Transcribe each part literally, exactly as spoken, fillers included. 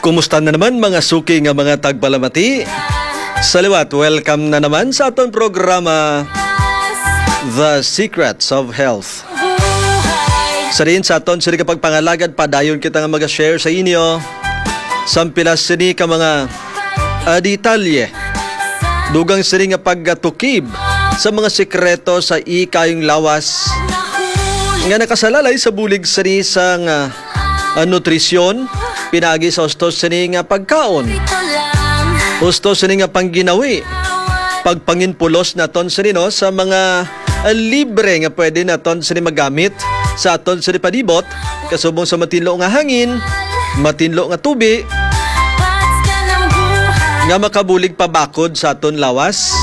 Kumusta na naman, mga suki nga mga tagpalamati? Sa liwat, welcome na naman sa aton programa, The Secrets of Health. Sa diin sa aton sini ka pagpangalagad, padayon kita nga mag-share sa inyo sa pila sini ka mga, ah, detalye dugang sini nga pagtukib sa mga sikreto sa ikayong lawas nga nakasalalay sa bulig sini sang, ah, ah, nutrisyon, pinaagi sa husto sini nga pagkaon, husto sini nga pangginawi, pagpanginpulos naton sini, no, sa mga, ah, libre nga pwede naton sini magamit sa aton sini palibot, kasubong sa matinlo nga hangin, matinlo nga tubi, nga makabulig pabakod sa aton lawas,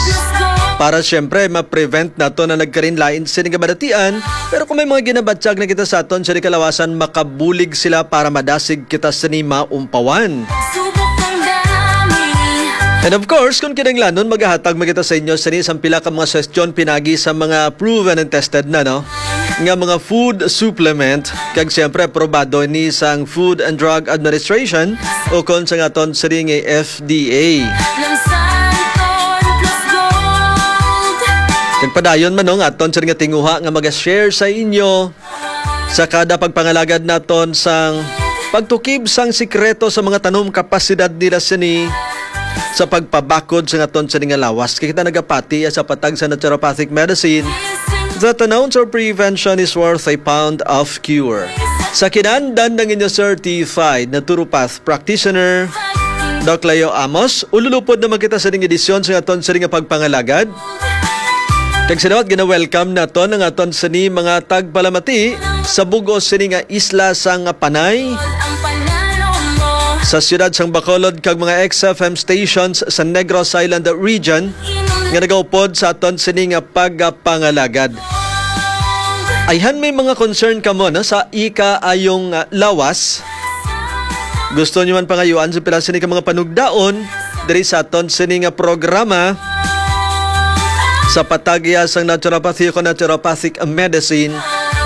para siyempre ma-prevent naton na nagkarinlain sini nga balatian. Pero kung may mga ginabatyag na kita sa aton sini kalawasan, makabulig sila para madasig kita sini maumpawan. And of course, kung kinahanglanon, magahatag man kita sa inyo sini sang pila ka mga suhestyon pinaagi sa mga proven and tested na, no, nga mga food supplement, kag siyempre aprobado ni sang Food and Drug Administration o kon sa aton sini nga F D A. Kag padayon man, no, nga aton sini nga tinguha nga mag-share sa inyo sa kada pagpangalagad naton sang pagtukib sang sikreto sa mga tanom, kapasidad nila sini sa pagpabakod sa aton sini nga lawas. Kay kita nagapati sa patag sa naturopathic medicine that an ounce of prevention is worth a pound of cure. Sa kinandan ng inyo certified naturopath practitioner, Doc Leo Amos, ululupod naman kita sa ning edisyon sa aton sini nga pagpangalagad. Kag sa liwat, gina-welcome naton ang aton sini mga tagpalamati sa bug-os sini nga isla sang Panay, sa siyudad sang Bacolod, kag mga X F M stations sa Negros Island region nga nagaupod sa aton sini nga pagpangalagad. Ayhan may mga concern kamo, no, sa ikaayong, ah, lawas. Gusto nyo man pangayuan sa pila sini ka mga panugdaon diri sa aton sini nga programa sa patag sang naturopathy o naturopathic medicine,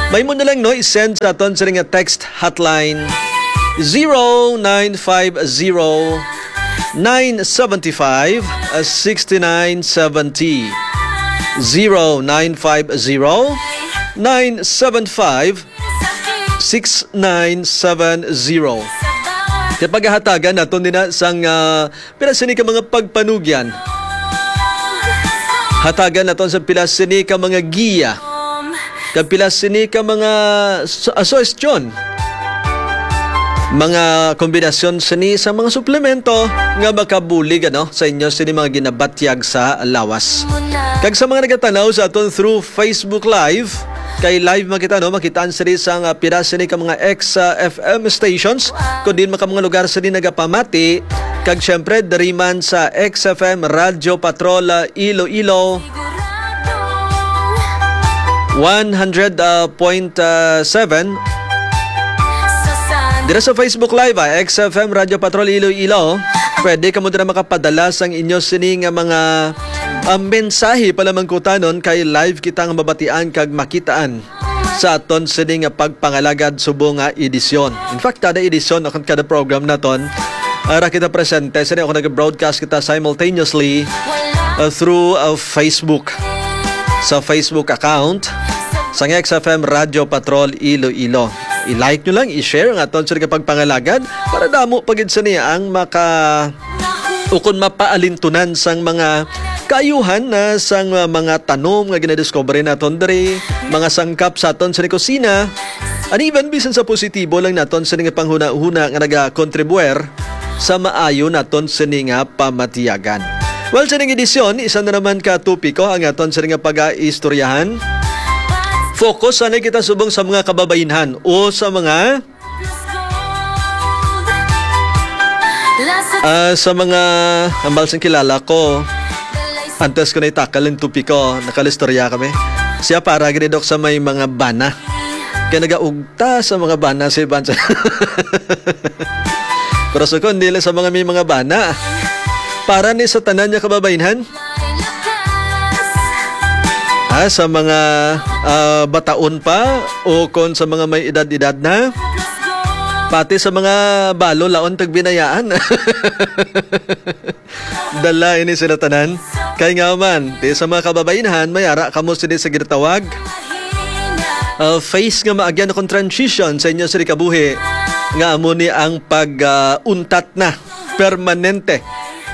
may mo na lang, no, i-send sa aton sini nga text hotline, zero nine five zero, nine seven five, six nine seven zero. Zero nine five zero, nine seven five, six nine seven zero. Kay paghahatagan naton din na sang, ah, pila sini ka mga pagpanugyan. Hatagan naton sa pila sini ka mga giya. Kag pila sini ka mga su-, ah, suhestyon. Mga kombinasyon sini sa mga suplemento nga makabulig, ano, sa inyo sini mga ginabatyag sa lawas. Kag sa mga nagatanaw sa aton through Facebook Live, kay live makita, no? Makitaan sini sa nga pira sini ka mga X, ah, F M stations, kun diin man ka mga lugar sini nagapamati, kag siyempre, diri man sa X F M Radyo Patrol, ah, Iloilo, one hundred point seven. Dira sa Facebook Live, ah, X F M Radyo Patrol Iloilo. Pwede kamo dira makapadala sang inyo sini nga mga, ah, mensahe palamangkutanon kay live kita nga mabatian kag makitaan sa aton sini nga pagpangalagad subong nga edisyon. In fact, kada edisyon o kada program naton, ara kita presente, sini ako nag-broadcast kita simultaneously, uh, through, uh, Facebook. Sa Facebook account sang X F M Radyo Patrol Iloilo. I-like nyo lang, i-share ang aton sini nga pagpangalagad para damo pa gid sini ang maka ukon mapaalintunan sang mga kaayuhan na sang, uh, mga tanom nga ginadiscovery naton diri, mga sangkap sa aton sa kusina, and even bisan sa positibo lang naton sa nga panghuna-huna nga nagakontribuer sa maayo naton sini nga pamatiyagan. Well, sa ning edisyon, isa na naman ka topiko ang aton sa nga pag-aistoryahan. Focus sana kita subong sa mga kababainhan o sa mga Ah, sa mga hambal sing kilala ko, antes ko na itakal ang topiko, nakalistorya kami. Siya para gini, Dok, sa may mga bana. Kaya nagaugta sa mga bana si Bansa. Pero sa ko, hindi lang sa mga may mga bana. Para ni sa tanan niya kababainhan, ah, sa mga, ah, bataon pa o kon sa mga may edad-edad na. Pati sa mga balo, laon tagbinayaan. Dala ini sila tanan. Kay nga man, ti sa mga kababainhan, may ara kamo sini sa ginatawag, ah, phase nga maagyan kon transition sa inyo sini kabuhi, nga amo ni ang pag, ah, untat na permanente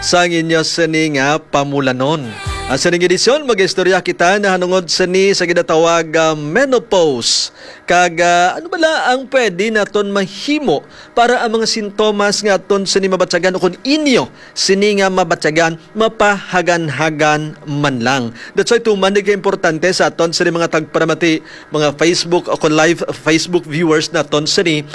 sa inyo sini nga pamulanon. Ah, sa ning edisyon, mag-istorya kita nahanungod sini sa ginatawag, ah, menopause. Kag, ah, ano bala ang pwede naton mahimo para ang mga sintomas nga aton sini mabatyagan o kon inyo sini nga mabatyagan mapahaganhagan man lang? That's why tuman ni kaimportante sa aton sini mga tagparamati, mga Facebook o kon live Facebook viewers naton sini,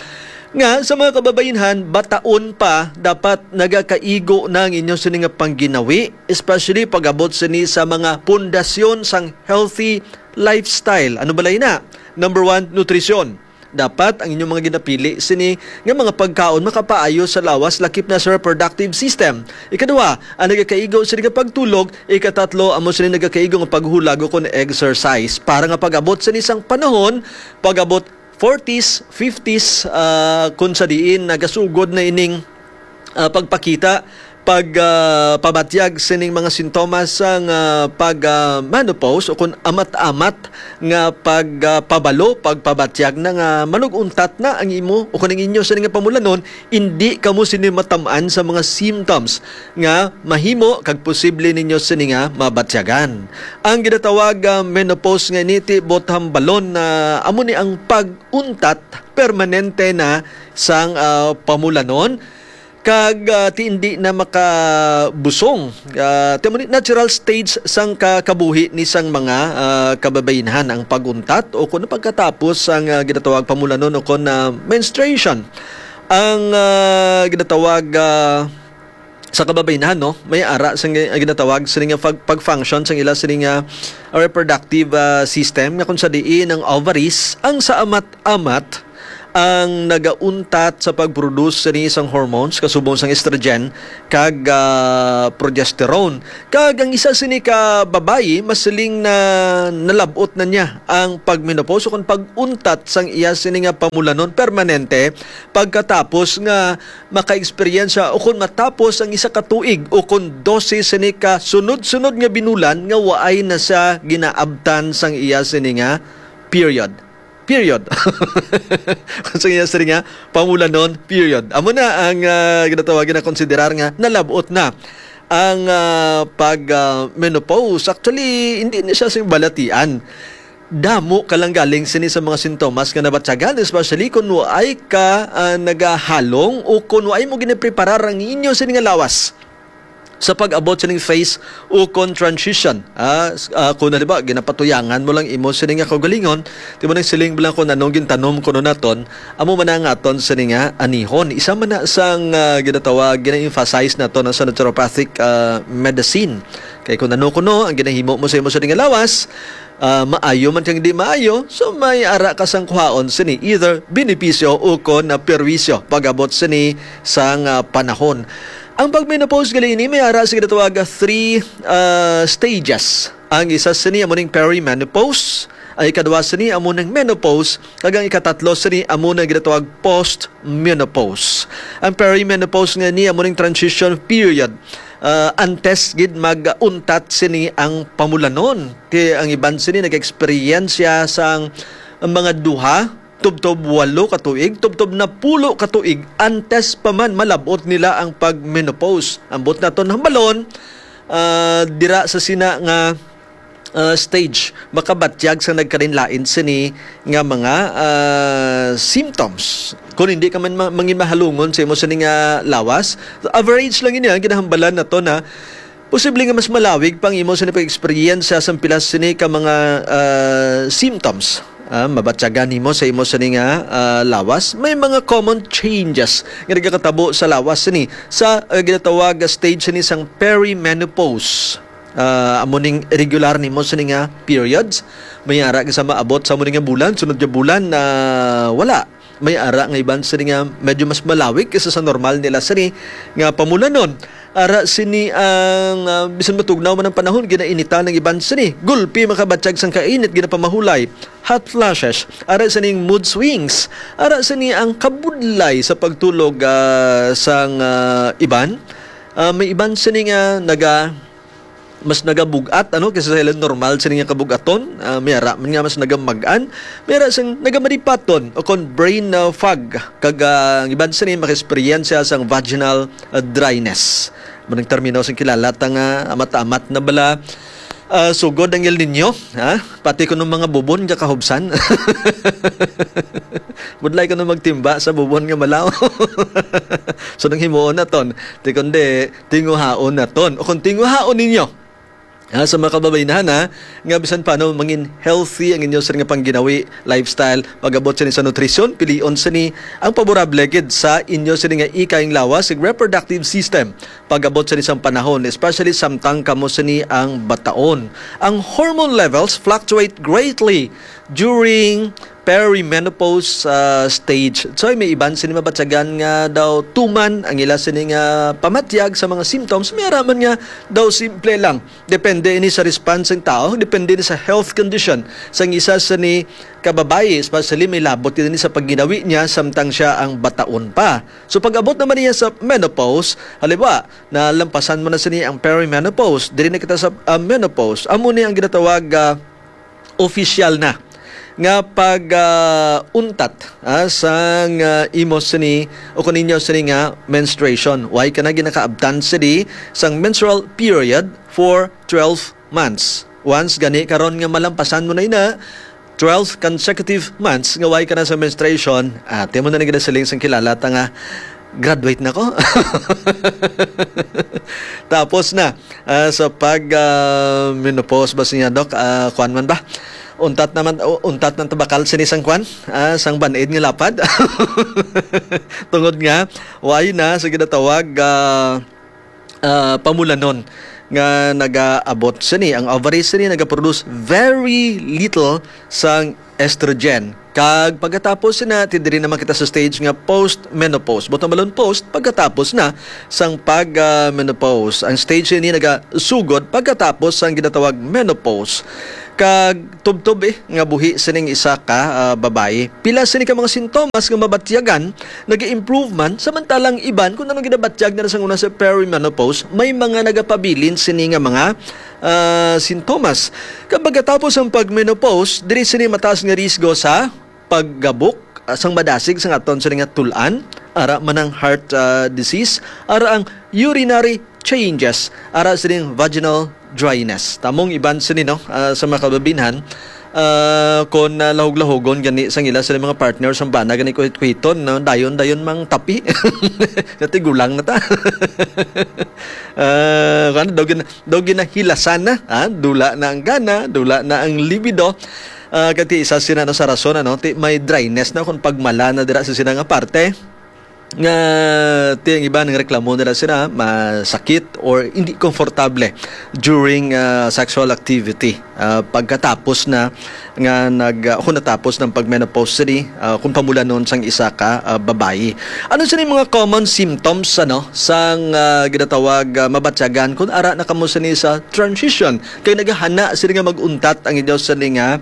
nga sa mga kababainhan, bataon pa, dapat nagakaigo na ang inyo sini nga pangginawi, especially pag-abot sini sa mga pundasyon sang healthy lifestyle. Ano bala ina? Number one, nutrisyon. Dapat ang inyong mga ginapili sini nga mga pagkaon makapaayo sa lawas, lakip na sa reproductive system. Ikaduha, ang nagakaigo sini nga pagtulog. Ikatatlo, amo sini nagakaigo nga paghulag o kon exercise. Para nga pag-abot sini sang panahon, pag-abot forties, fifties, ah, kung sa diin nagasugod na ining, ah, pagpakita, pag, ah, pabatyag sining mga sintomas sang, ah, pag, ah, menopause o kung amat-amat nga pag, ah, pabalo, pagpabatyag na nga manug-untat na ang imo o kung ang inyo sini nga pamulanon, indi kamo sini matam-an sa mga symptoms nga mahimo kag posible ninyo sini nga mabatyagan. Ang ginatawag, ah, menopause nga ini ti bot hambalon na amo ni ang pag-untat permanente na sang, ah, pamulanon, kag, ah, ti indi na makabusong. Ah, ti amo ni natural stage sang ka-, kabuhi ni sang mga, ah, kababainhan ang pag-untat o kun pagkatapos sang, ah, ginatawag pamulanon o kun, ah, menstruation. Ang, ah, ginatawag, ah, sa kababainhan, no, may ara sang gi-, ginatawag sini nga pag-, pag-function sang ila sini nga reproductive, ah, system, nga kung sa diin ang ovaries ang sa amat-amat ang nagauntat sa pag-produce sini sang hormones kasubong sang estrogen kag, ah, progesterone. Kag ang isa sini ka babayi, masiling na nalab-ot na niya ang pag-menopause o kon pag-untat sang iya sini nga pamulanon permanente pagkatapos nga maka-eksperyensya o kon matapos ang isa ka tuig o kon dose sini ka sunod-sunod nga binulan nga waay na siya ginaabtan sang iya sini nga period. Period. Kung sa iya sini nga pamulanon, period. Amo na ang, ah, ginatawag, ginakonsiderar nga nalab-ot na ang, ah, pag, ah, menopause. Actually, hindi ni siya sing balatian. Damo ka lang galing sini sa mga sintomas nga nabatyagan, especially kung waay ka, ah, nagahalong o kung waay mo ginapreparar ang inyo sini nga lawas sa pag-abot sining phase o kon transition. Ah, s-, ah, kung halimbawa, ginapatuyangan mo lang imo sini nga kaugalingon, di mo nang siling lang kung anong gintanom kuno naton, amo man ang aton sini nga anihon. Isa man na sang, ah, ginatawag, gina-emphasize naton sa naturopathic, ah, medicine. Kay kung ano kuno ang ginahimo mo sa imo sini nga lawas, ah, maayo man kag di maayo, so may ara ka sang kuhaon sini, either benepisyo o kon na perwisyo pag-abot sini sang, ah, panahon. Ang pag-menopause gali ini may ara sa ginatawag nga three, ah, stages. Ang isa sini amo ning perimenopause, ang ikaduha sini amo ning menopause, kag ang ikatatlo sini amo nang ginatawag post-menopause. Ang perimenopause nga ni amo ning transition period, ah, antes gid mag-untat sini ang pamulanon. Kay ang iban sini nag-eksperyensya sang mga duha tubtob walo ka tuig, tubtob napulo ka tuig antes pa man malab-ot nila ang pag-menopause. Ambot naton hambalon, ah, dira sa sina nga, ah, stage, makabatyag sa nagkalain-lain sini nga mga, ah, symptoms. Kung hindi ka man ma-, mangin mahalungon sa imo sini nga lawas, average lang ini, ang ginahambalan nato na posible nga mas malawig pang imo sini pag-eksperyensya sa pilas sini ka mga, ah, symptoms. Ah, mabatyagan nimo sa imo sini nga, ah, lawas. May mga common changes nga nagakatabo sa lawas sini sa, ah, ginatawag nga stage sini sang perimenopause. Ah, amo ning regular nimo sini nga periods. May ara sa maabot sa amo ning nga bulan, sunod nga bulan na wala. May ara nga iban sini nga medyo mas malawig kaysa sa normal nila sini nga pamulanon. Ara sini ang, ah, bisan matugnaw man ang panahon, ginainitan ang iban sini. Gulpi makabatyag sang kainit, ginapamahulay, hot flashes. Ara sining mood swings. Ara sini ang kabudlay sa pagtulog, ah, sang, ah, iban. Ah, may iban sini nga naga, mas nagabug-at, ano, kaysa sa ilang normal sini nga kabug-aton. Ah, may ara man nga mas nagamag-an. May ara sang nagamadipaton o kon brain, ah, fog. Kag, ah, ang iban sini makaesperyensya sang vaginal, ah, dryness. Manang termino sing kilala ta nga amat-amat na bala, ah, sugod ang El Niño, ha? Pati kuno mga bubon nga kahubsan. Budlay kuno magtimba sa bubon nga malaw. So, nang himuon naton, ti kundi tinguhaon naton. O kung tinguhaon ninyo, ha, sa mga kababainahan, ha, nga bisan paano mangin healthy ang inyo sini nga pangginawi, lifestyle, pag-abot sini sa nutrisyon, pilion sini ang paborable gid sa inyo sini nga ikayang lawas, ug reproductive system. Pag-abot sini sang panahon, especially samtang kamo sini ang bataon. Ang hormone levels fluctuate greatly during perimenopause, ah, stage. So, may iban sini mabatyagan nga daw tuman ang ila sini nga pamatyag sa mga symptoms. May ara man nga daw simple lang. Depende ini sa response sang tao, depende ini sa health condition sang isa sini ka babayi, especially may labot ini sa pagginawi niya samtang siya ang bataon pa. So, pag-abot naman niya sa menopause, halimbawa, nalampasan mo na sini ang perimenopause, diri na kita sa, ah, menopause. Amo ni ang ginatawag, ah, opisyal na nga pag, ah, untat, ah, sang, ah, imo sini o kuninyo sini nga menstruation. Why ka na ginakaabtan sini sang menstrual period for twelve months? Once gani karon nga malampasan mo na ina twelve consecutive months nga why ka na sa menstruation, ate mo na ni ginasiling sang kilala ta nga graduate na ko. Tapos na, ah, sa pag, ah, menopause ba siya, Doc? Ah, kuwan man ba? Untat naman, u-, untat ng tabakal sini sang kuwan? Ah, sang band-aid nga lapad? Tungod nga, why na sa ginatawag, ah, ah, pamulanon nga nagaabot sini. Ang ovary sini nagaproduce very little sang estrogen. Kag pagkatapos na, ti diri naman kita sa stage nga post-menopause. Buot silingon, post, pagkatapos na sang pag, ah, menopause. Ang stage ini nagasugod pagkatapos sang ginatawag menopause. Kag tubtob, eh, nga buhi sining isa ka, ah, babayi. Pila sini ka mga sintomas nga mabatyagan, nag-improve man, samantalang iban, kung ano ginabatyag na sa una sa perimenopause, may mga nagapabilin sini nga mga, ah, sintomas. Kag pagkatapos ang pag-menopause, diri sini mataas nga risgo sa paggabok, ah, sang madasig sang aton sini nga tul-an, ara man ang heart, ah, disease, ara ang urinary changes, ara sining vaginal dryness. Tamong iban sini, no, ah, sa mga kababinhan, ah, kon, ah, lahog-lahogon gani sang ila sila mga partner sang bana gani kuhit-kuhiton, no, dayon-dayon mang tapi. Kati gulang na ta. Ah, kan daw gin-, daw ginahilasan na, ah, dula na ang gana, dula na ang libido. Ah, kati isa sina, no, sa rason, ano, ti may dryness na kung pagmala na dira sa sina nga parte. Nga ti ang iba nang reklamo nila sila masakit or hindi komportable during, ah, sexual activity, ah, pagkatapos na nga nag, ah, kung natapos ng pag-menopause sini, ah, kung pamulanon sang isa ka, ah, babayi. Ano sini mga common symptoms, ano, sang, ah, ginatawag, ah, mabatyagan kung ara na kamo sini sa transition kay nagahana sini nga mag-untat ang inyo sini nga,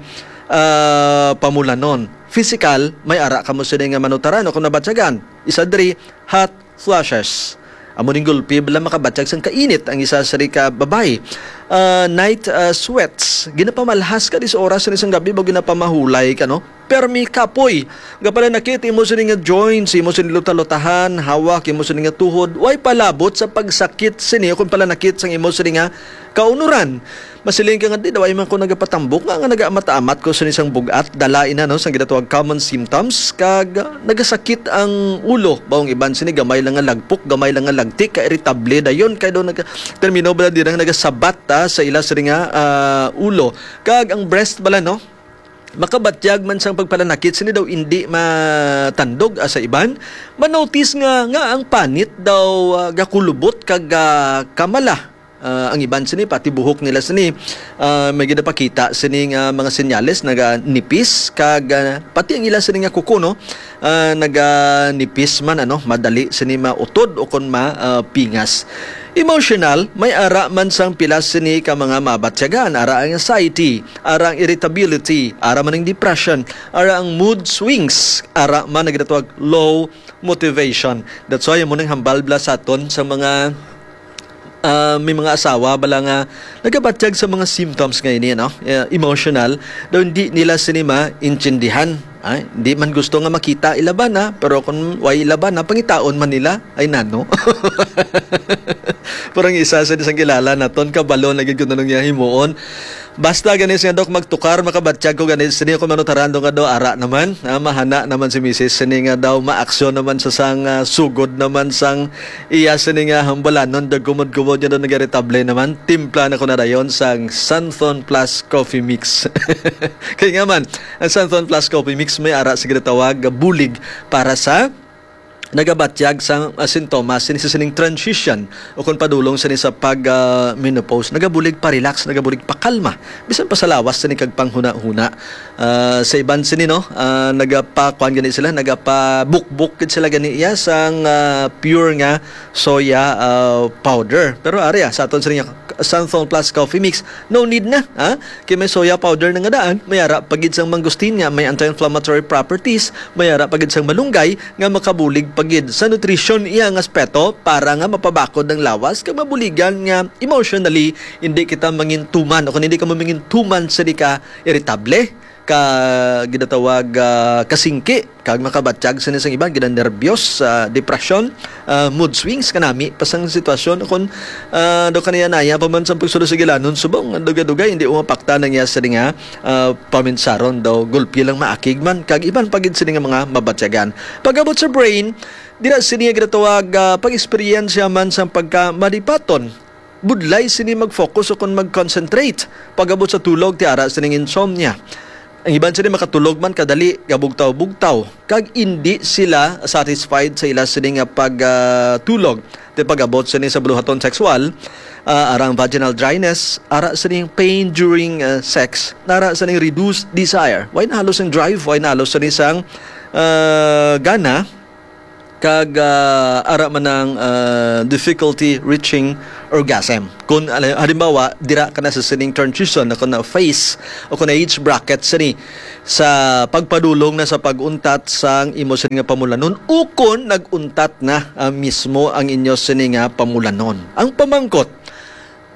ah, pamulanon? Physical, may ara kamo sini nga manutaran o kung nabatyagan. Isa diri, hot flashes. Amo ning gulpi bala makabatyag sang kainit ang isa sini ka babayi. Ah, night, ah, sweats. Ginapamalhas ka di sa oras sini sang gabi, ba ginapamahulay ka, no? Permi kapoy. Gapalanakit imo sini nga joints, imo sini luta-lutahan, hawak imo sini nga tuhod. Way palabot sa pagsakit sini o kung palanakit sang imo sini nga kaunuran. Masiling ka nga, "Di daw ay man ko nagapatambok nga, nga nagaamat-amat ko sa isang bugat, dala ina, no, sang ginatawag common symptoms, kag nagasakit ang ulo." Baong iban sini gamay lang nga lagpok, gamay lang nga lagtik, ka-irritable dayon, kay daw naga-, termino bala dira nga nagasabat, ah, sa ila sini nga, ah, ulo. Kag ang breast bala, no, makabatyag man sang pagpalanakit, sini daw indi matandog, ah, sa iban. Manotis nga, nga ang panit daw, ah, gakulubot kag, ah, kamala. Ah, ang iban sini, pati buhok nila sini, ah, may ginapakita sini nga mga senyales, naganipis, kag, ah, pati ang ila sini nga kuko, no, ah, naganipis man, ano, madali sini mautod o kon ma, ah, pingas. Emotional, may ara man sang pila sini ka mga mabatyagan, ara ang anxiety, ara ang irritability, ara man ang depression, ara ang mood swings, ara man ang ginatawag low motivation. That's why mo nang hambal bala sa aton sa mga, ah, may mga asawa bala nga nagabatyag sa mga symptoms nga ini, no? Eh, emotional, daw hindi nila sini maintindihan. Ay, di man gusto nga makita ilabana, pero kung way ilabana, pangitaon man nila, ay nano. Parang isa sa isang kilala naton, kabalo na gid kung anong iya himuon. Basta gani siya, Dok, magtukar, makabatyag ko gani sini, kung manutaran do nga do, ara naman, ah, mahana naman si misis, sini nga daw, maaksyon naman sa sang, ah, sugod naman sang iya sini nga hambalanon, dag kumod-kumod niya do, nagaritable naman, timpla na ko na dayon sang Santhon Plus Coffee Mix. Kay nga man, ang Santhon Plus Coffee Mix may ara sa ginatawag nga bulig para sa nagabatyag sang, ah, sintomas sini sa sining transition o kung padulong sini sa pag, ah, menopause. Nagabulig pa-relax, nagabulig pakalma. Bisan pa sa lawas sini kag panghuna-huna. Ah, sa iban sini, no, ah, nagapakuan gani sila, nagapabukbok gid sila gani iya sang, ah, pure nga soya, ah, powder. Pero ari, ah, sa aton sini nga Santhon Plus Coffee Mix, no need na, ha? Kay may soya powder na nga daan, may ara pa gid sang mangosteen nga may anti-inflammatory properties, may ara pa gid sang malunggay nga makabulig pa gid sa nutrition iya nga aspeto para nga mapabakod ang lawas kag mabuligan nga emotionally hindi kita mangintuman o kung hindi ka mamingintuman sa di ka irritable, ka ginatawag, ah, kasingki, kag makabatyag sini sang iban, ginanerbyos, ah, depresyon, ah, mood swings, kanami pa sang sitwasyon. Kung, ah, do kaniya-naya pa man sa pagsulod sa gilanon, subong, dugay-dugay, hindi umapakta na niya sa nga, ah, paminsaron daw, gulpi lang maakig man, kag iban pa gid sini nga mga mabatyagan. Pag-abot sa brain, dira sini nga ginatawag, ah, pag-eksperyensya man sang pagkamalipaton. Budlay sini mag-focus o kon mag-concentrate. Pag-abot sa tulog, ti ara sining insomnia. Ang iban sini makatulog man kadali, gabugtaw-bugtaw, kag indi sila satisfied sa ila sini nga pag, ah, tulog. Ti pag-abot sini sa buluhaton sexual, ah, ara ang vaginal dryness, ara sining pain during, ah, sex, ara sining reduced desire. Way na halos ang drive, way na halos sini sang, ah, gana, kag, ah, ara man ang, ah, difficulty reaching orgasm. Kung, ala-, halimbawa, dira ka na sa sining transition, o kung na phase, o kung na age bracket sini, sa pagpadulong na sa pag-untat sang imo sini nga pamulanon, ukon nag-untat na, ah, mismo ang inyo sini nga pamulanon. Ang pamangkot,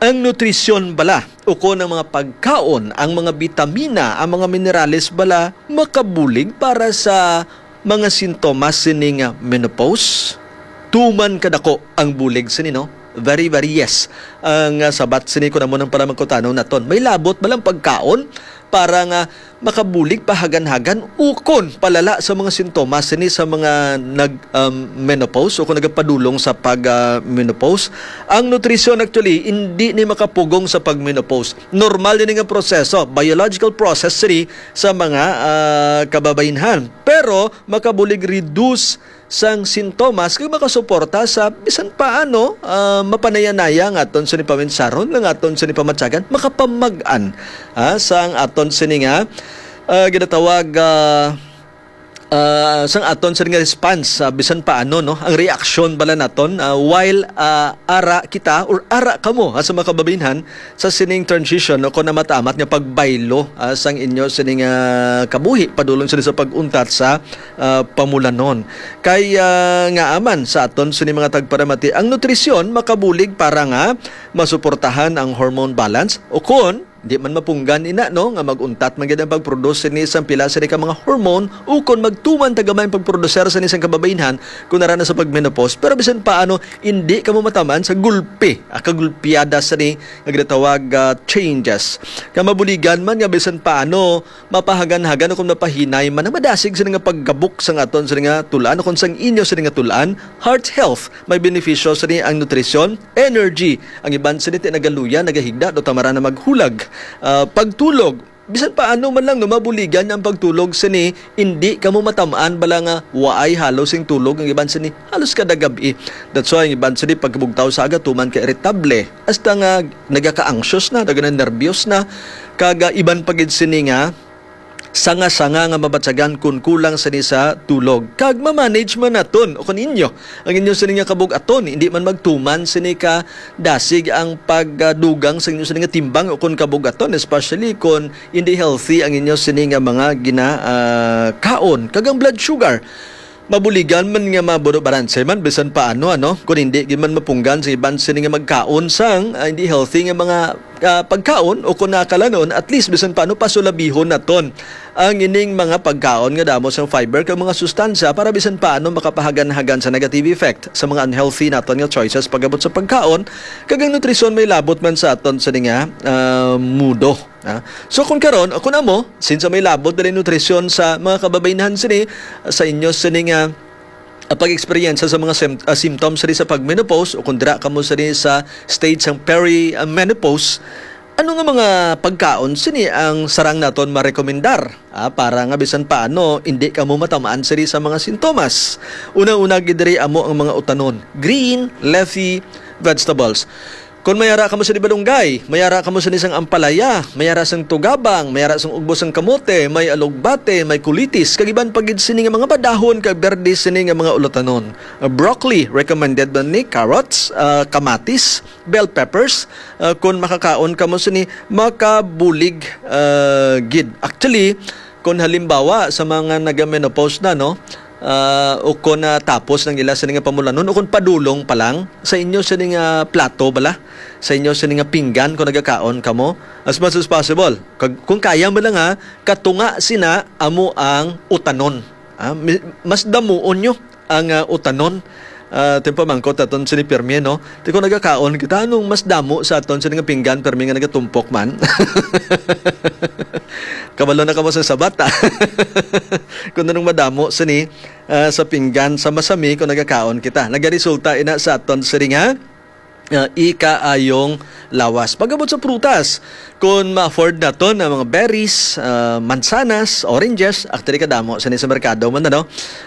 ang nutrisyon bala, ukon ang mga pagkaon, ang mga bitamina, ang mga minerales bala, makabulig para sa mga sintomas sini nga menopause? Tuman kadako ang bulig sini, no? Very, very yes. Ang, ah, sabat sini, kun amo nang pala magkutanaw naton, may labot ba lang pagkaon para nga makabulig pahagan-hagan ukon palala sa mga sintomas sini sa mga nag, um, menopause o kung nagapadulong sa pag, ah, menopause? Ang nutrisyon actually hindi ni makapugong sa pag-menopause. Normal ini nga proseso, biological process sini sa mga, ah, kababaynhan. Pero makabulig reduce sang sintomas kag makasuporta sa bisan paano, ah, mapanaya-naya nga aton sini paminsaron, nga aton sini pamatyagan, makapamag-an, ah, sang aton sini nga, ah, ginatawag, ah, ah, sang aton sini nga response, ah, bisan paano, no, ang reaksyon bala naton, ah, while, ah, ara kita or ara kamo, ah, sa mga kababaynhan, sa sining transition o kon namatamat nga pagbaylo, ah, sang inyo sining, ah, kabuhi padulong sini sa pag-untat sa, ah, pamulanon. Kay, ah, ngaa man sa aton sini mga tagparamati, ang nutrisyon makabulig para nga masuportahan ang hormone balance o kon di man mapunggan ina, no, nga mag-untat man gid ang pag-produce sini sang pila sini ka mga hormone o kon magtuman ta gamay ang pag-producer sini sang kababaynhan kon ara na sa pag-menopause. Pero bisan paano, hindi kamo matamaan sa gulpi, ah, kagulpiada sini nga ginatawag, ah, changes. Nga mabuligan man nga bisan paano, mapahagan-hagan o kung mapahinay man ang madasig sini nga pagkabuk sang aton sini nga tul-an o kung sang inyo sini nga tul-an, heart health, may benepisyo sini ang nutrisyon, energy, ang iban sini ti nagaluya, nagahigda, do tamara na maghulag, ah, pagtulog, bisan paano man lang, no, mabuligan ang pagtulog sini, indi kamo matamaan bala nga waay halos sing tulog ang iban sini halos kada gab-i. That's why ang iban sini pagkabugtaw sa aga tuman ka irritable, hasta nga nagaka-anxious na, nagana-nervyos na, kag, ah, iban pa gid sini nga, sanga-sanga nga mabatyagan kun kulang sini sa tulog. Kag ma-manage man naton o kun inyo ang inyo sini nga kabug-aton, hindi man magtuman sini ka dasig ang pagdugang sa inyo sini nga timbang o kun kabug-aton, especially kun hindi healthy ang inyo sini nga mga gina ah, kaon. Kag ang blood sugar, mabuligan man nga mabuno balanse man bisan paano, ano, kun hindi gid man mapunggan sa iban sini nga magkaon sang ah, hindi healthy nga mga ah, pagkaon o kun nakalanon, at least bisan paano pasulabihon naton ang ining mga pagkaon nga damo sang fiber kag mga sustansya para bisan paano makapahagan-hagan sa negative effect sa mga unhealthy naton nga choices pagabot sa pagkaon. Kag ang nutrisyon may labot man sa aton sini nga ah, mudo. Ah, so kung karon, kung amo, since may labot dali nutrisyon sa mga kababaynhan sini, sa inyo sini nga ah, pag-eksperyensya sa mga sem- ah, symptoms sini sa pag-menopause o kung dira kamo sini sa stage sang peri-menopause, ano nga mga pagkaon sini ang sarang naton marekomendar ah, para nga bisan paano hindi kamo matamaan sini sa mga sintomas? Una-una gid diri amo ang mga utanon, green leafy vegetables. Kon may ara kamo sini balunggay, may ara kamo sini sang ampalaya, may ara sang tugabang, may ara sang ugbo sang kamote, may alugbate, may kulitis, kag iban pa gid sini nga mga badahon kag berde sini nga mga ulatanon. Uh, broccoli, recommended man ni, carrots, uh, kamatis, bell peppers. Uh, kon makakaon kamo sini, makabulig uh, gid. Actually, kon halimbawa sa mga naga-menopause na, no, ah, o kon natapos ng ila sini nga pamulanon, o kon padulong pa lang sa inyo sini nga plato bala, sa inyo sini nga pinggan kung nagakaon kamo, as much as possible. Kag, kung kaya mo lang ha, katunga sina amo ang utanon. Ah, mi- mas damuon nyo ang ah, utanon. Ah, ito yung pamangkot aton sini pirmi, no? Ti kung nagakaon kita, anong mas damo sa aton sini nga pinggan pirmi nga nagatumpok man? Kabalo na kamo sa sabat, ah. Kung anong madamo sini ah, sa pinggan sa masami kung nagakaon kita. Nagaresulta ina sa aton sini nga ah, ikaayong lawas. Pagabot sa prutas, kung ma-afford naton ang mga berries, ah, mansanas, oranges, actually kadamo sini sa merkado man, ano?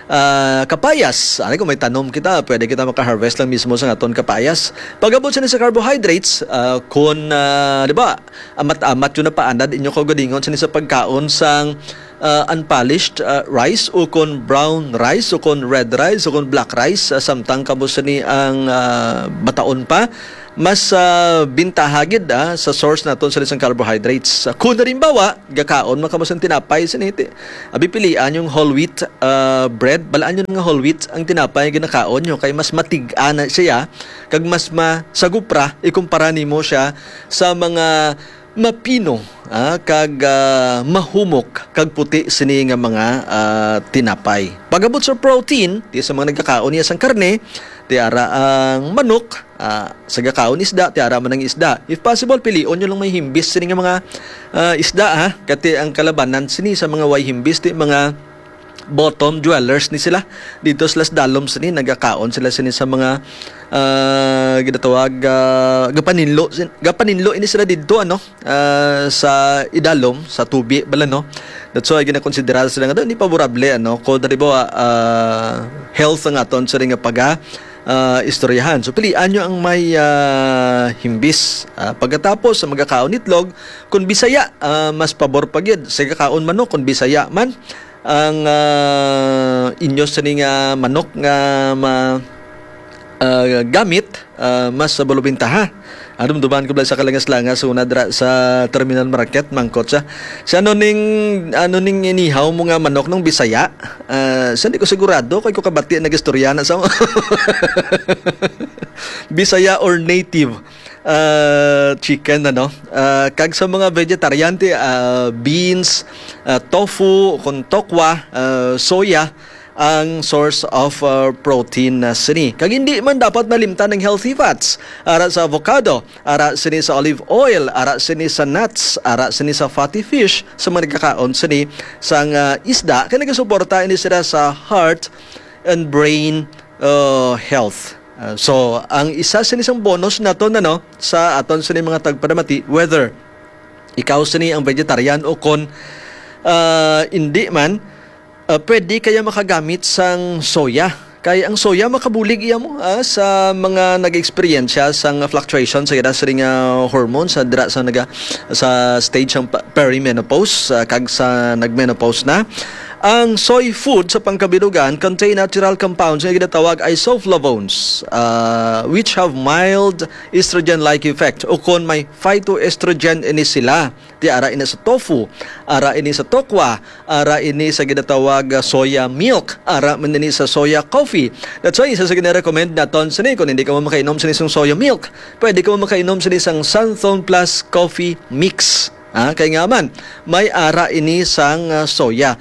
Ah, kapayas, ano, kung may tanom kita, pwede kita maka-harvest lang mismo sa aton kapayas. Pagabot sini sa carbohydrates, ah, kung, ah, di ba, amat-amat yun na paanad inyo kaugalingon sini sa pagkaon sang ah, unpolished ah, rice, o kon brown rice, o kon red rice, o kon black rice, ah, samtang kamo sini ang ah, bataon pa, mas ah, bintaha gid ah, sa source naton sa isang carbohydrates. Ah, kung halimbawa, gakaon man kamo sang tinapay, sini ti-, abi, pilian yung whole wheat ah, bread, balaan yung nga whole wheat ang tinapay nga ginakaon nyo, kay mas matig-a na siya, kag mas masagupra ikumpara nimo siya sa mga mapino ah, kag ah, mahumok kag puti sini nga mga ah, tinapay. Pagabot sa protein, ti sa mga nagkakaon niya sang karne, ti ara ang manok, ah, sa gakaon isda, ti ara man ang isda. If possible, pilion nyo lang may himbis sini nga mga ah, isda, ha. Kati ang kalabanan sini sa mga way himbis, ti mga bottom dwellers ni sila. Dito sila sa dalom sini, nagakaon sila sini sa mga ah, ginatawag ah, gapaninlo sin- gapaninlo ini sila dito, ano, ah, sa idalom sa tubi bala, no. That's why ginakonsidera sila nga hindi favorable, ano, kung halimbawa ah, health ang aton sa nga paga ah, istoryahan. So pilian nyo ang may ah, himbis. Ah, pagkatapos sa magakaon itlog, kung Bisaya, ah, mas pabor pa gyud sa gakaon manok kung Bisaya man ang ah, inyo sini nga manok nga ma ah, gamit, ah, mas bulubintaha. Dumduman ko bala sa kalangas-langas una dra sa terminal market, mangkot siya. Si ano ning, ano ning inihaw mo nga manok nung Bisaya? Ah, sa di ko sigurado, kay ko kabati nagistorya na sa Bisaya or native ah, chicken, ano? Ah, kag sa mga vegetarian, ti, ah, beans, ah, tofu, kung tokwa, ah, soya, ang source of uh, protein na sini. Kag hindi man dapat malimtan ang healthy fats. Ara sa avocado, ara sini sa olive oil, ara sini sa nuts, ara sini sa fatty fish, sa mga nagkakaon sini sang uh, isda, kay nagasuporta ini sila sa heart and brain uh, health. Uh, so, ang isa sini sang bonus naton, ano, sa aton sini mga tagpanamati, whether ikaw sini ang vegetarian o kon uh, hindi man, uh, pwede kaya makagamit sang soya Kay ang soya makabulig iya mo, ah, sa mga nag-eksperyensya sang fluctuation sa ira sining, ah, hormones, ah, dira sa naga-, sa stage sang pa-, perimenopause, ah, kag sa nagmenopause na. Ang soy food sa pangkabilugan contain natural compounds nga ginatawag isoflavones, ah, which have mild estrogen-like effect, o kon may phytoestrogen ini sila. Di ara ini sa tofu, ara ini sa tokwa, ara ini sa ginatawag, ah, soya milk, ara man ini sa soya coffee. That's why isa sa gina-recommend naton sini, kung hindi ka mo makainom sini sang soya milk, pwede ka mo makainom sini sang Santhon Plus Coffee Mix. Ah, kay nga man, may ara ini sang, ah, soya.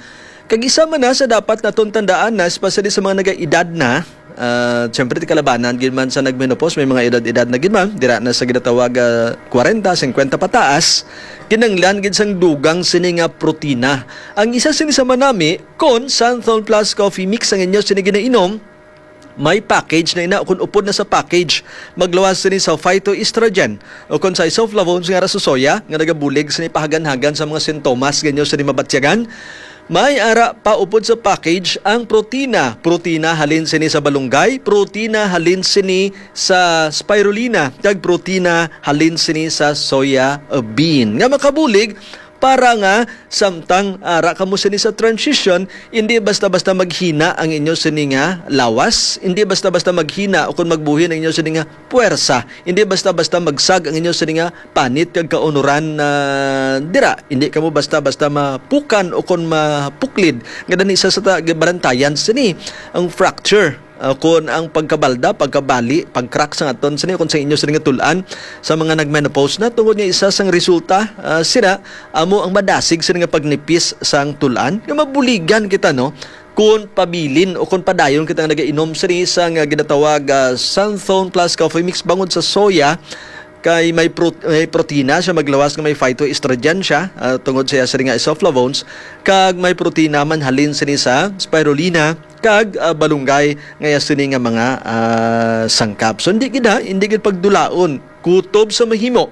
Kag isa man na sa dapat naton tandaan na, especially sa mga nagaedad na, ah, siyempre, di kalabanan gid man sa nagmenopause, may mga edad-edad na gid man, dira na sa ginatawag, ah, kwarenta, singkwenta pataas, kinahanglan gid sang dugang sini nga protina. Ang isa sini sa manami, kon Santhon Plus Coffee Mix ang inyo sini ginainom, may package na ina, o kon upod na sa package, magluwas sini sa phytoestrogen o kon sa isoflavones nga ara sa soya nga nagabulig sini pahaganhagan sa mga sintomas nga inyo sini mabatyagan. May ara pa upod sa package ang protina. Protina halin sini sa balunggay, protina halin sini sa spirulina, kag protina halin sini sa soya bean. Nga makabulig para nga samtang ara kamo sini sa transition, hindi basta-basta maghina ang inyo sini nga lawas, hindi basta-basta maghina o kon magbuhin ang inyo sini nga puwersa, hindi basta-basta magsag ang inyo sini nga panit kag kaunuran na dira. Hindi kamo basta-basta mapukan o kon mapuklid. Nga dani sa, sa ta-, balantayan sini ang fracture. Ah, kon ang pagkabalda, pagkabali, pag-crack sa aton sini, kon sa inyo sini nga tul-an, sa mga nag-menopause na, tungod nga isa sang resulta, ah, sina, amo ang madasig sini nga pagnipis sang tul-an, nga mabuligan kita, no? Kon pabilin o kon padayon kita nga nagainom sini sa nga ginatawag, ah, Santhon Plus Coffee Mix bangod sa soya, kay may pro-, may protina siya, maglawas nga may phytoestrogen siya, ah, tungod sa iya sini nga isoflavones, kag may protina man halin sini sa spirulina kag, ah, balunggay nga iya sini nga mga, ah, sangkap. So, hindi gid, ha, hindi gid pagdulaon kutob sa mahimo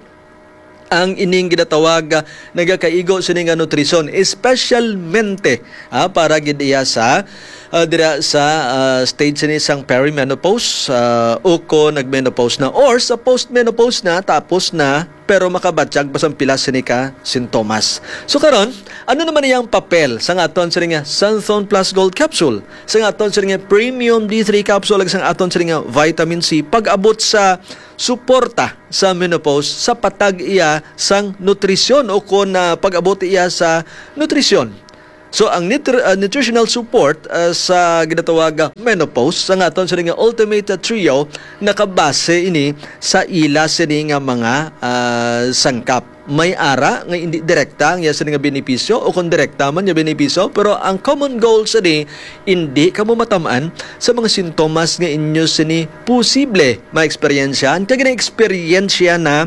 ang ining ginatawag, ah, nagakaigo sini nga nutrisyon, espesyalmente, ah, para gid iya sa, ah, dira sa, ah, stage sini sang perimenopause, ah, o kon nagmenopause na or sa postmenopause na, tapos na, pero makabatyag pa sang pila sini ka sintomas. So karon, ano naman iyang papel sa nga aton sini nga Santhon Plus Gold Capsule, sa nga aton sini nga Premium D three Capsule, ag sa nga aton sini nga Vitamin C pag-abot sa suporta sa menopause sa patag iya sang nutrisyon o kon, ah, pag-abot iya sa nutrisyon? So, ang nitr-, ah, nutritional support, ah, sa ginatawag nga menopause, sa nga aton sini nga Ultimate Trio, nakabase ini sa ila sini nga mga, ah, sangkap. May ara nga indi direkta ang iya sini nga benepisyo o kon direkta man nga benepisyo, pero ang common goal sini, indi kamo matam-an sa mga sintomas nga inyo sini posible maeksperiensyahan kag gina-eksperyensya na,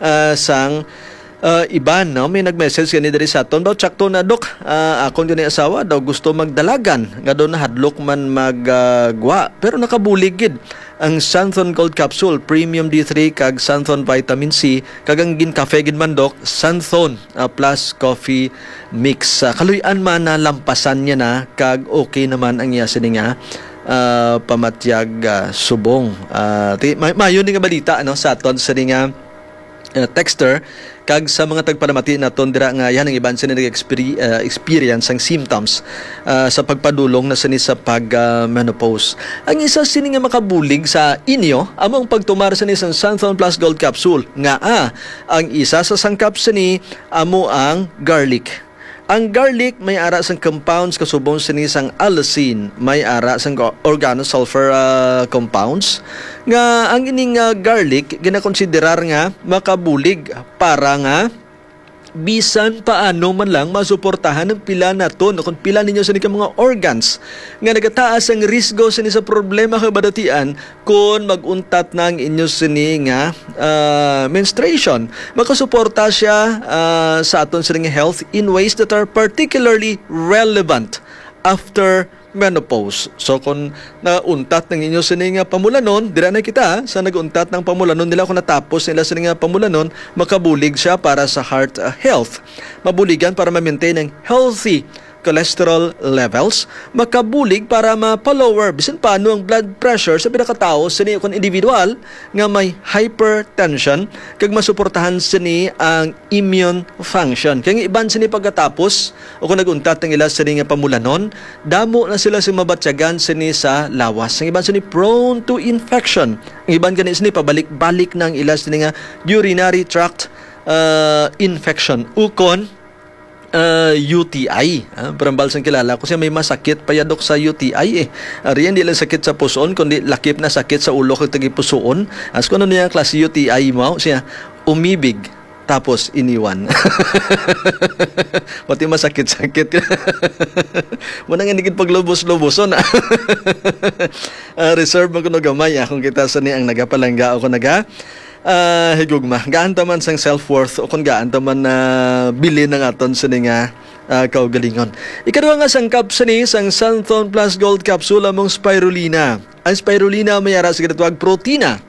ah, sang, ah, iban, no? May nag-message gani diri sa aton, daw, "Tsakto na, Dok. Ah, akon gani asawa daw gusto magdalagan, nga daw nahadlok man mag, ah, gwa, pero nakabulig gid ang Santhon Gold Capsule, Premium D three, kag Santhon Vitamin C, kag ang ginkafe gid man, Dok, Santhon, ah, Plus Coffee Mix." Ah, kaluy-an man na lampasan niya na, kag okay naman ang iya sini nga, ah, pamatyag, ah, subong. Ah, ti-, may, mayo ni nga balita, ano, sa aton sini nga, ah, texter, kag sa mga tagpalamati naton dira nga yan ang iban sini nag-experi-, ah, experience ang symptoms, ah, sa pagpadulong na sini sa pag, ah, menopause. Ang isa sini nga makabulig sa inyo amo ang pagtumar sini sa Santhon Plus Gold Capsule, nga, ah, ang isa sa sangkap sini amo ang garlic. Ang garlic may ara sang compounds kasubong sini sang allicin, may ara sang go-, organosulfur, ah, compounds, nga ang ining, ah, garlic ginakonsiderar nga makabulig para nga bisan paano man lang masuportahan ang pila naton o kung pila ninyo sini ka mga organs nga nagataas ang risgo sini sa problema kag badatian kon mag-untat na ang inyo sini nga, ah, menstruation. Makasuporta siya, ah, sa aton sini nga health in ways that are particularly relevant after menopause. So, kung nauntat ng inyo sini nga pamulanon, dira na kita, sa nag-untat ng pamulanon nila, kung natapos nila sini nga pamulanon, makabulig siya para sa heart, ah, health. Mabuligan para ma-maintain ang healthy cholesterol levels, makabulig para mapa-lower bisan paano ang blood pressure sa pila ka tawo sini kon individual nga may hypertension, kag masuportahan sini ang immune function. Kay ang iban sini pagkatapos o kung nag-untat ang ila sini nga pamulanon, damo na sila sing mabatyagan sini sa lawas. Ang iban sini prone to infection. Ang iban gani sini pabalik-balik na ang ila sini nga urinary tract, ah, infection ukon, ah, U T I. Ah, parambal sang kilala ko siya, may masakit pa yadok sa U T I eh. Ari, hindi lang sakit sa puson, kundi lakip na sakit sa ulo kag tagipusoon. As kung ano niya klase U T I mo, siya umibig tapos iniwan. Pati masakit-sakit. Muna nga nigid paglubos-luboson, ah. Ah, reserve mo kuno gamay, ah, kung kita sa ni ang nagapalangga o kung naga, ah, higugma. Gaan ta man sang self-worth o kung gaan ta man na bilin ang aton sini nga, ah, kaugalingon. Ikaduha nga sangkap sini sang Santhon Plus Gold Capsule among spirulina. Ang spirulina may ara sa ginatawag protina.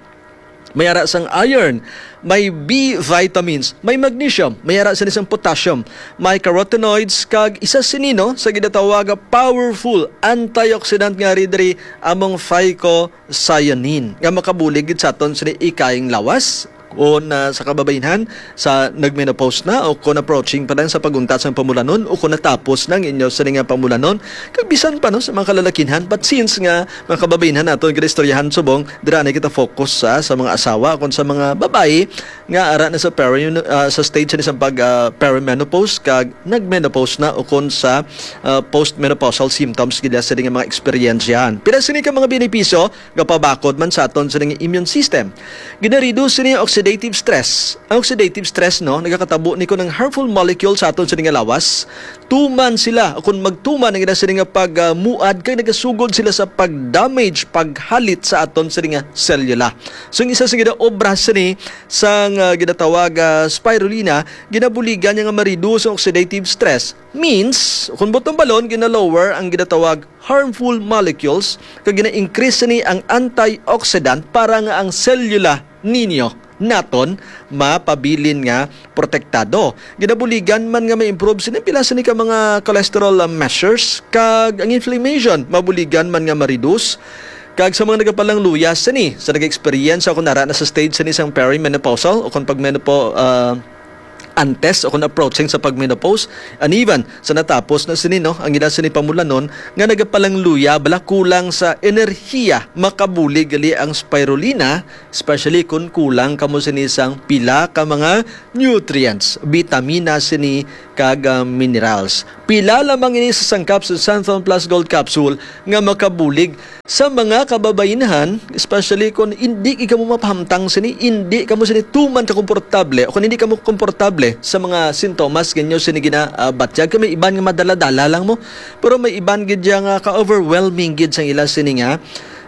May ara sang iron, may B vitamins, may magnesium, may ara sini sang potassium, may carotenoids, kag isa sini, no, sa ginatawag nga powerful antioxidant nga ari diri among phycocyanin nga makabulig gid sa aton sini ikayang lawas. Kung, ah, sa kababainhan, sa nagmenopause na o kung approaching pa lang sa pag-untat sang pamulanon o kung natapos na ang inyo sini nga pamulanon, kag bisan pa, no, sa mga kalalakinhan. But since nga mga kababainhan naton ginaistoryahan subong, dira na kita focus sa, sa mga asawa, kung sa mga babayi nga ara na sa peri-, ah, sa stage na sa pag, ah, perimenopause kag nagmenopause na, o kung sa, ah, postmenopausal symptoms gid sa mga eksperyensyahan. Pila sini ka mga benepisyo nga pabakod man sa aton sa immune system. Ginareduce sini ang oxidative stress. Ang oxidative stress, no, nagakatabo ni ko ng harmful molecule sa aton sa nga lawas. Tuman sila, o kung magtuman ang ila sini nga pagmuad, kay nagasugod sila sa pag-damage, paghalit sa aton sini nga selula. So, ang isa sa ginaobra sini sang, ah, ginatawag, ah, spirulina, ginabuligan niya nga ma-reduce ang oxidative stress. Means, kung butong balon, gina-lower ang ginatawag harmful molecules, kag gina-increase sini ang antioxidant para nga ang selula ninyo naton mapabilin nga protektado. Ginabuligan man nga ma-improve sini pila sini ka mga cholesterol, ah, measures, kag ang inflammation mabuligan man nga ma-reduce. Kag sa mga nagapalangluya sini, sa nag-experience o kung ara na sa stage sini sang perimenopausal o kung pagmenopo-, ah, antes o kung approaching sa pagmenopause, and even sa natapos na sini, no, ang ila sini pamulanon nga nagapalangluya bala kulang sa enerhiya, makabulig gali ang spirulina, especially kung kulang kamo sini sang pila ka mga nutrients, bitamina sini kag, ah, minerals. Pila lamang ini sa sangkap sa Santhon Plus Gold Capsule nga makabulig sa mga kababainhan, especially kung hindi kamo mapahamtang sini, hindi kamo sini tuman ka komportable, o kung hindi kamo komportable sa mga sintomas nga inyo sini gina, ah, batyag, kay may iban nga madala-dala lang mo, pero may iban gid siya nga ka-overwhelming gid sang ila sini nga,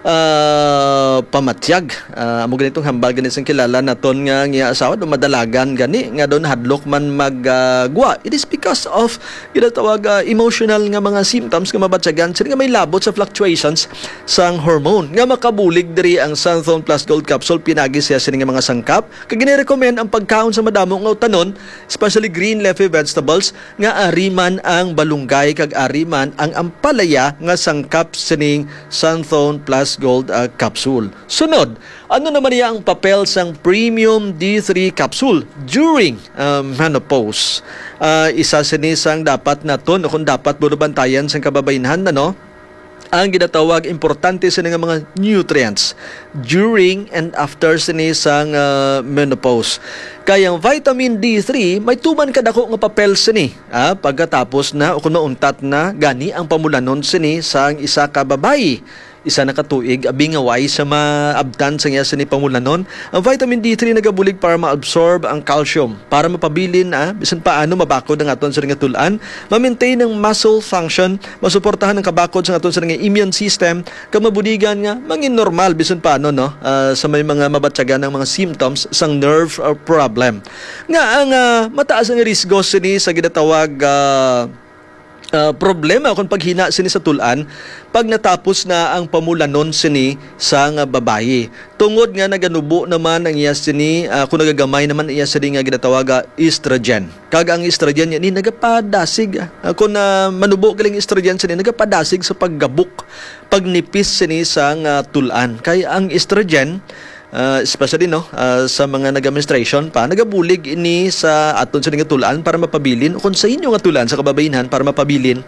ah, pamatyag. Ah, amo ganitong hambal gani sang kilala naton nga, nga asawa, do madalagan gani nga don hadlok man mag, ah, gwa. It is because of ginatawag, ah, emotional nga mga symptoms nga mabatyagan sini nga may labot sa fluctuations sang hormone nga makabulig diri ang Santhon Plus Gold Capsule. Pinagi siya sini nga mga sangkap, kag gini-recommend ang pagkaon sa madamo nga utanon, especially green leafy vegetables, nga ari man ang balunggay kag ari man ang ampalaya nga sangkap sining Santhon Plus Gold, ah, Capsule. Sunod, ano naman niya ang papel sang Premium D three Capsule during, ah, menopause? Ah, isa sini sang dapat naton o kung dapat bunubantayan sang kababainhan, ano? Ang ginatawag importante sini nga mga nutrients during and after sini sang, ah, menopause. Kay ang vitamin D three may tuman kadako nga papel sini, ah, pagkatapos na o kung mauntat na gani ang pamulanon sini sang isa ka babayi. Isa na ka tuig, abi nga way sa maabtan sa iya sini pamulanon. Ang vitamin D three nagabulig para ma-absorb ang calcium, para mapabilin, ah, bisan paano mabakod ang aton sini nga tul-an, ma-maintain ang muscle function, masuportahan ang kabakod sa aton sini nga immune system, kag mabuligan nga mangin normal bisan paano, no, ah, sa may mga mabatyagan ang mga symptoms sang nerve, ah, problem. Nga ang, ah, mataas ang risgo sini sa ginatawag, ah, ah, problema kung paghina sini sa tul-an pag natapos na ang pamulanon sini sang babayi. Tungod nga naganubo naman ang iya sini, ah, kung nagagamay naman ang iya sini nga ginatawaga estrogen. Kag ang estrogen yan ni nagapadasig, ah, kung, ah, manubo galing estrogen sini, nagapadasig sa paggabok, pagnipis sini sang, ah, tul-an. Kay ang estrogen, ah, especially, no, ah, sa mga nag-menstruation pa, nagabulig ini sa aton sini nga tul-an para mapabilin, o kung sa inyo nga tul-an sa kababainhan para mapabilin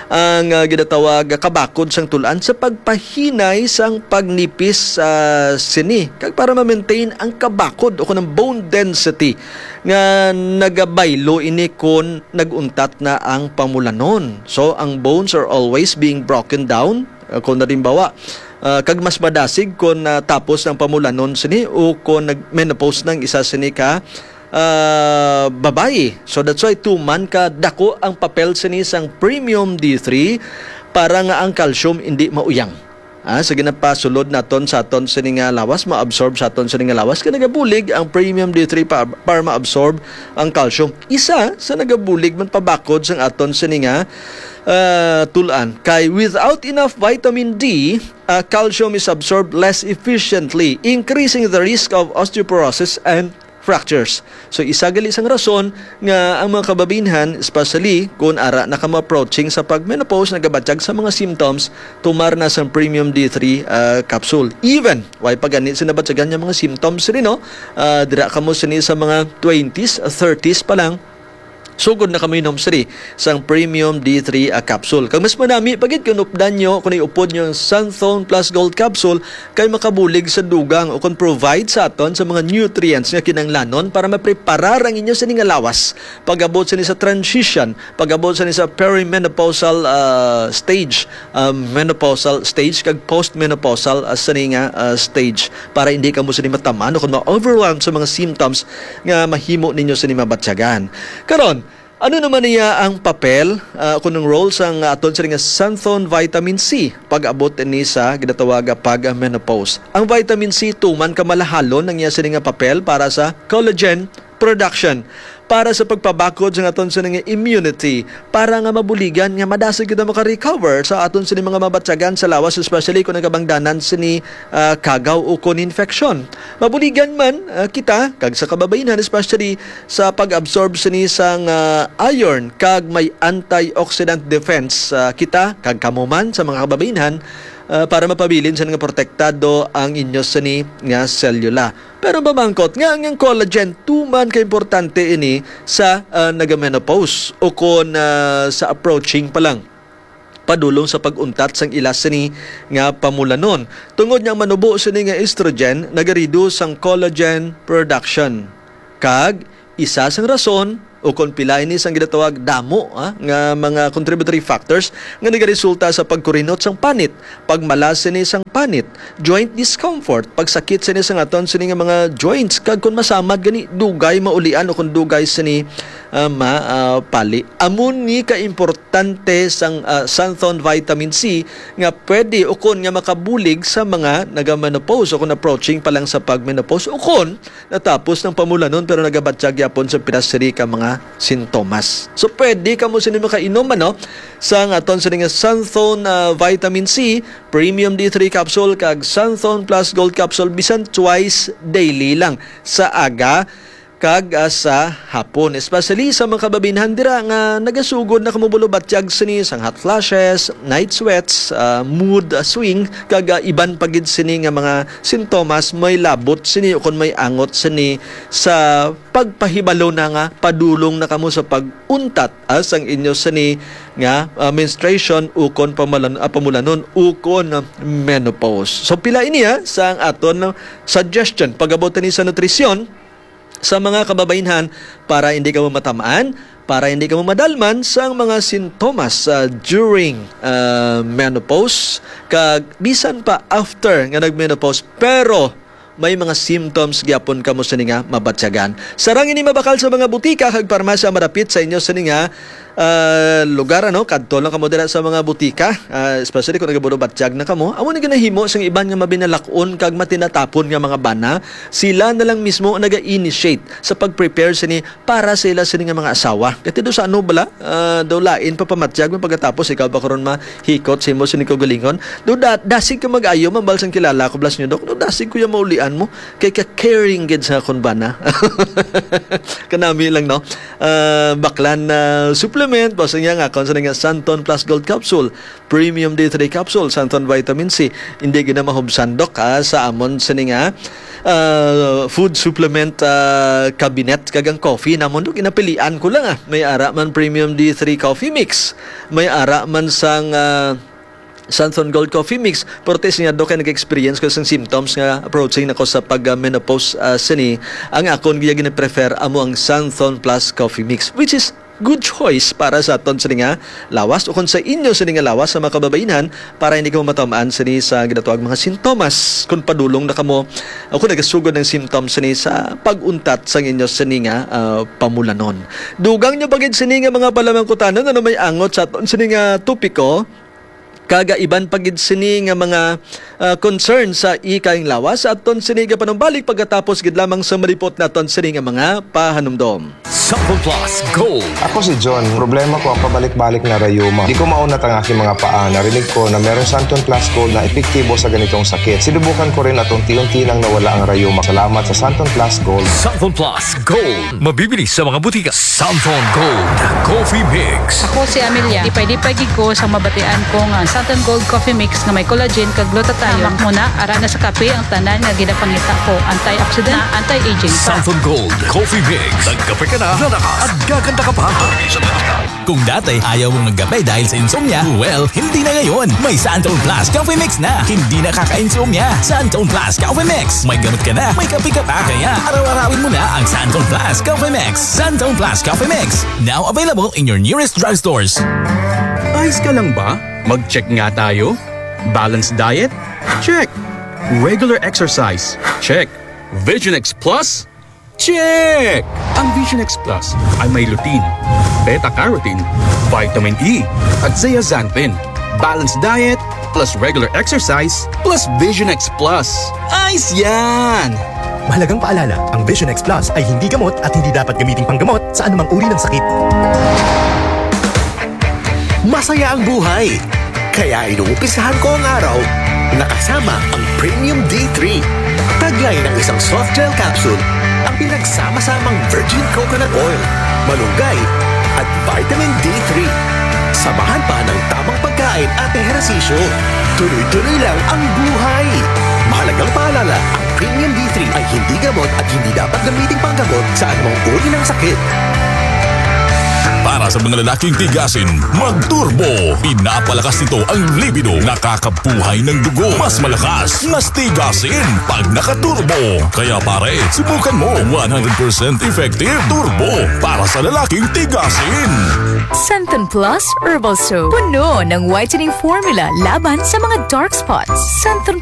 ang, ah, ginatawag nga kabakod sang tul-an sa pagpahinay sang pagnipis, ah, sini, kag para ma-maintain ang kabakod o kung ang bone density nga nagabaylo ini kon nag-untat na ang pamulanon. So, ang bones are always being broken down. Ah, kung halimbawa, ah, kag mas madasig kon, ah, tapos ng pamulanon sini o kon nag-menopause ng isa sini ka, ah, babayi. So, that's why tuman ka dako ang papel sini sang premium D three para nga ang calcium hindi mauyang. Ah, sa ginapasulod naton sa aton sini nga lawas, ma-absorb sa aton sini nga lawas, kay nagabulig ang premium D three pa, para ma-absorb ang calcium. Isa sa nagabulig man pabakod sang aton sini nga, ah, tul-an. Kay without enough vitamin D, ah, calcium is absorbed less efficiently, increasing the risk of osteoporosis and fractures. So, isa gali sang rason nga ang mga kababainhan, especially kung ara na kamo approaching sa pag-menopause, nagabatyag sa mga symptoms, tumar na sang premium D three, ah, capsule. Even, way pa gani sinabatyagan nga mga symptoms rin, no? Ah, dira kamo sini sa mga twenties, thirties pa lang, sugod na kamo inom sini sang premium D three, ah, capsule. Kag mas manami pa gid kung updan nyo, kung iupod nyo ang Santhone Plus Gold Capsule, kay makabulig sa dugang o kung provide sa aton sa mga nutrients nga kinahanglanon para mapreparar ang inyo sini nga lawas pag-abot sini sa transition, pag-abot sini sa perimenopausal, ah, stage, ah, menopausal stage, kag postmenopausal, ah, sini nga, ah, stage, para hindi kamo sini matamaan o kung ma-overwhelm sa mga symptoms nga mahimo ninyo sini mabatyagan. Karon, ano naman niya ang papel, ah, kung ang role sang aton sini nga Santhone Vitamin C pag-abot ni sa ginatawag nga pag-menopause? Ang vitamin C tuman ka malahalon ang iya sini nga papel para sa collagen production, para sa pagpabakod sa aton sini nga immunity, para nga mabuligan nga madasig kita maka-recover sa aton sini mga mabatyagan sa lawas, especially kung nagabangdanan sini, ah, kagaw o kon infection. Mabuligan man, ah, kita, kag sa kababainhan, especially sa pag-absorb sini sang, ah, iron, kag may antioxidant defense, ah, kita, kag kamo man sa mga kababainhan, ah, para mapabilin sa nga protektado ang inyo sini nga selula. Pero mamangkot nga ang collagen tuman ka importante ini sa, ah, nagamenopause o kon, ah, sa approaching pa lang padulong sa pag-untat sang ila sini nga pamulanon. Tungod nga ang manubo sini nga estrogen nagareduce sang collagen production. Kag isa sang rason o kon pila ini sang ginatawag damo, ah, nga mga contributory factors nga nagaresulta sa pagkurinot sang panit, pagmalas sini sang panit, joint discomfort, pagsakit sini sang aton sini nga mga joints, kag kon masamad gani dugay maulian o kon dugay sini, ah, ma, ah, pali. Amo ni ka importante sang, ah, Santhon Vitamin C nga pwede ukon nga makabulig sa mga nagamenopause o kung approaching pa lang sa pag-menopause o kung natapos ng pamulanon pero nagabatyag yapon sa pinasiri ka mga sintomas. So, pwede kamo sini makainom, ano, sa aton sini nga Santhon, ah, Vitamin C, Premium D three capsule, kag Santhon Plus Gold capsule, bisan twice daily lang sa aga kag, ah, sa hapon, especially sa mga kababainhan dira nga nagasugod na kamo bulo batyag sini sang hot flashes, night sweats, ah, mood, ah, swing, kag, ah, iban pa gid sini nga mga sintomas may labot sini o kon may angot sini sa pagpahibalo na nga padulong na kamo sa pag-untat, ah, sang inyo sini nga, ah, menstruation ukon pamalan-, ah, pamulanon ukon, ah, menopause. So, pila ini, ah, sa ang aton, ah, suggestion pag-abot ni sa nutrisyon sa mga kababainhan para hindi kamo matamaan, para hindi kamo madalman sang mga sintomas, ah, during, ah, menopause, kag bisan pa after nga nag-menopause, pero may mga symptoms gyapon kamo sini nga mabatyagan. Sarang ini mabakal sa mga butika kag parmasya madapit sa inyo sini nga ah, lugar, ano, kadto lang kamo dira sa mga butika, ah, especially kung nagabuno batyag na kamo. Amo ni ginahimo sang iban nga mabinalak-on kag matinatapon nga mga bana. Sila na lang mismo naga-initiate sa pag-prepare sini para sa ila sini nga mga asawa. Kay do sa ano bala, ah, daw lain pa pamatyag mo pagkatapos ikaw pa karon mahikot sa imo sini kaugalingon. Do da, dasig ka mag-ayo, mambal sang kilala ko, blas nyo, Dok. Do dasig ko yung maulian mo. Kay ka-caring gid sa akon bana. Kanami lang, no? Ah, baklan na supplement, basta niya nga, kung sa nga Santon Plus Gold Capsule, Premium D three Capsule, Santon Vitamin C, hindi gina mahubsan, Dok, ha, sa amon sini nga, ah, food supplement, ah, cabinet, kag ang coffee namon, Dok, ginapilian ko lang, ah. May ara man Premium D three Coffee Mix, may ara man sang, ah, Santon Gold Coffee Mix. Pero ti siya, Dok, kay nag-experience ko sang symptoms nga approaching na ko sa pag-menopause, ah, sini. Ang akon gina-prefer amo ang Santon Plus Coffee Mix, which is good choice para sa aton sini nga lawas o kung sa inyo sini nga lawas sa mga kababainhan para hindi kamo matamaan sini sa ginatawag mga sintomas kung padulong na kamo o kung nagasugod ng symptoms sini sa pag-untat sang inyo sini nga, ah, pamulanon. Dugang nyo pa gid sini nga mga palamangkutanon, ano may angot sa aton sini nga topiko? Kaga iban pa gid sini nga mga, ah, concern sa ikang lawas. Aton sini nga panumbalik pagkatapos gid lamang sa malipot naton sini nga mga pahanumdom. Sample Plus Gold. Ako si John. Problema ko ang pabalik-balik na rayuma. Di ko maunat ang aking mga paa. Narinig ko na merong Santon Plus Gold na epektibo sa ganitong sakit. Sinubukan ko rin at unti-unti nang nawala ang rayuma. Salamat sa Santon Plus Gold. Sample Plus Gold. Mabibili sa mga butika. Santon Gold Coffee Mix. Ako si Amelia. Lipay-lipay gid ko sa mabatian ko nga ang Santon Gold Coffee Mix nga may collagen kag glutathione. Hamak mo na, ara na sa kape ang tanan nga ginapangita ko. Antioxidant, anti-aging pa. Santon Gold Coffee Mix. Nagkape ka na, lalakas, at gaganda ka pa. Kung dati, ayaw mong magkape dahil sa insomnia, well, hindi na ngayon. May Santon Plus Coffee Mix na. Hindi nakaka-insomnia. Santon Plus Coffee Mix. May gamot ka na, may kape ka pa. Kaya araw-arawin mo na ang Santon Plus Coffee Mix. Santon Plus Coffee Mix. Now available in your nearest drugstores. Ayos ka lang ba? Mag-check nga tayo. Balanced diet? Check. Regular exercise? Check. Vision X Plus? Check! Ang Vision X Plus ay may lutein, beta-carotene, vitamin E, at zeaxanthin. Balanced diet plus regular exercise plus Vision X Plus. Ayos yan! Mahalagang paalala, ang Vision X Plus ay hindi gamot at hindi dapat gamiting panggamot sa anumang uri ng sakit. Masaya ang buhay. Kaya inumpisahan ko ang araw na kasama ang Premium D three. Taglay ng isang soft gel capsule ang pinagsama-samang virgin coconut oil, malunggay, at vitamin D three. Samahan pa ng tamang pagkain at ehersisyo. Tuloy-tuloy lang ang buhay. Mahalagang paalala, ang Premium D three ay hindi gamot at hindi dapat gamiting panggamot sa anumang uri ng sakit. Para sa mga lalaking tigasin, mag-turbo. Pinapalakas nito ang libido, nakakabuhay ng dugo. Mas malakas, mas tigasin pag naka-turbo. Kaya pare, subukan mo. One hundred percent effective. Turbo para sa lalaking tigasin. Santon Plus Herbal Soap. Puno ng whitening formula laban sa mga dark spots. Santon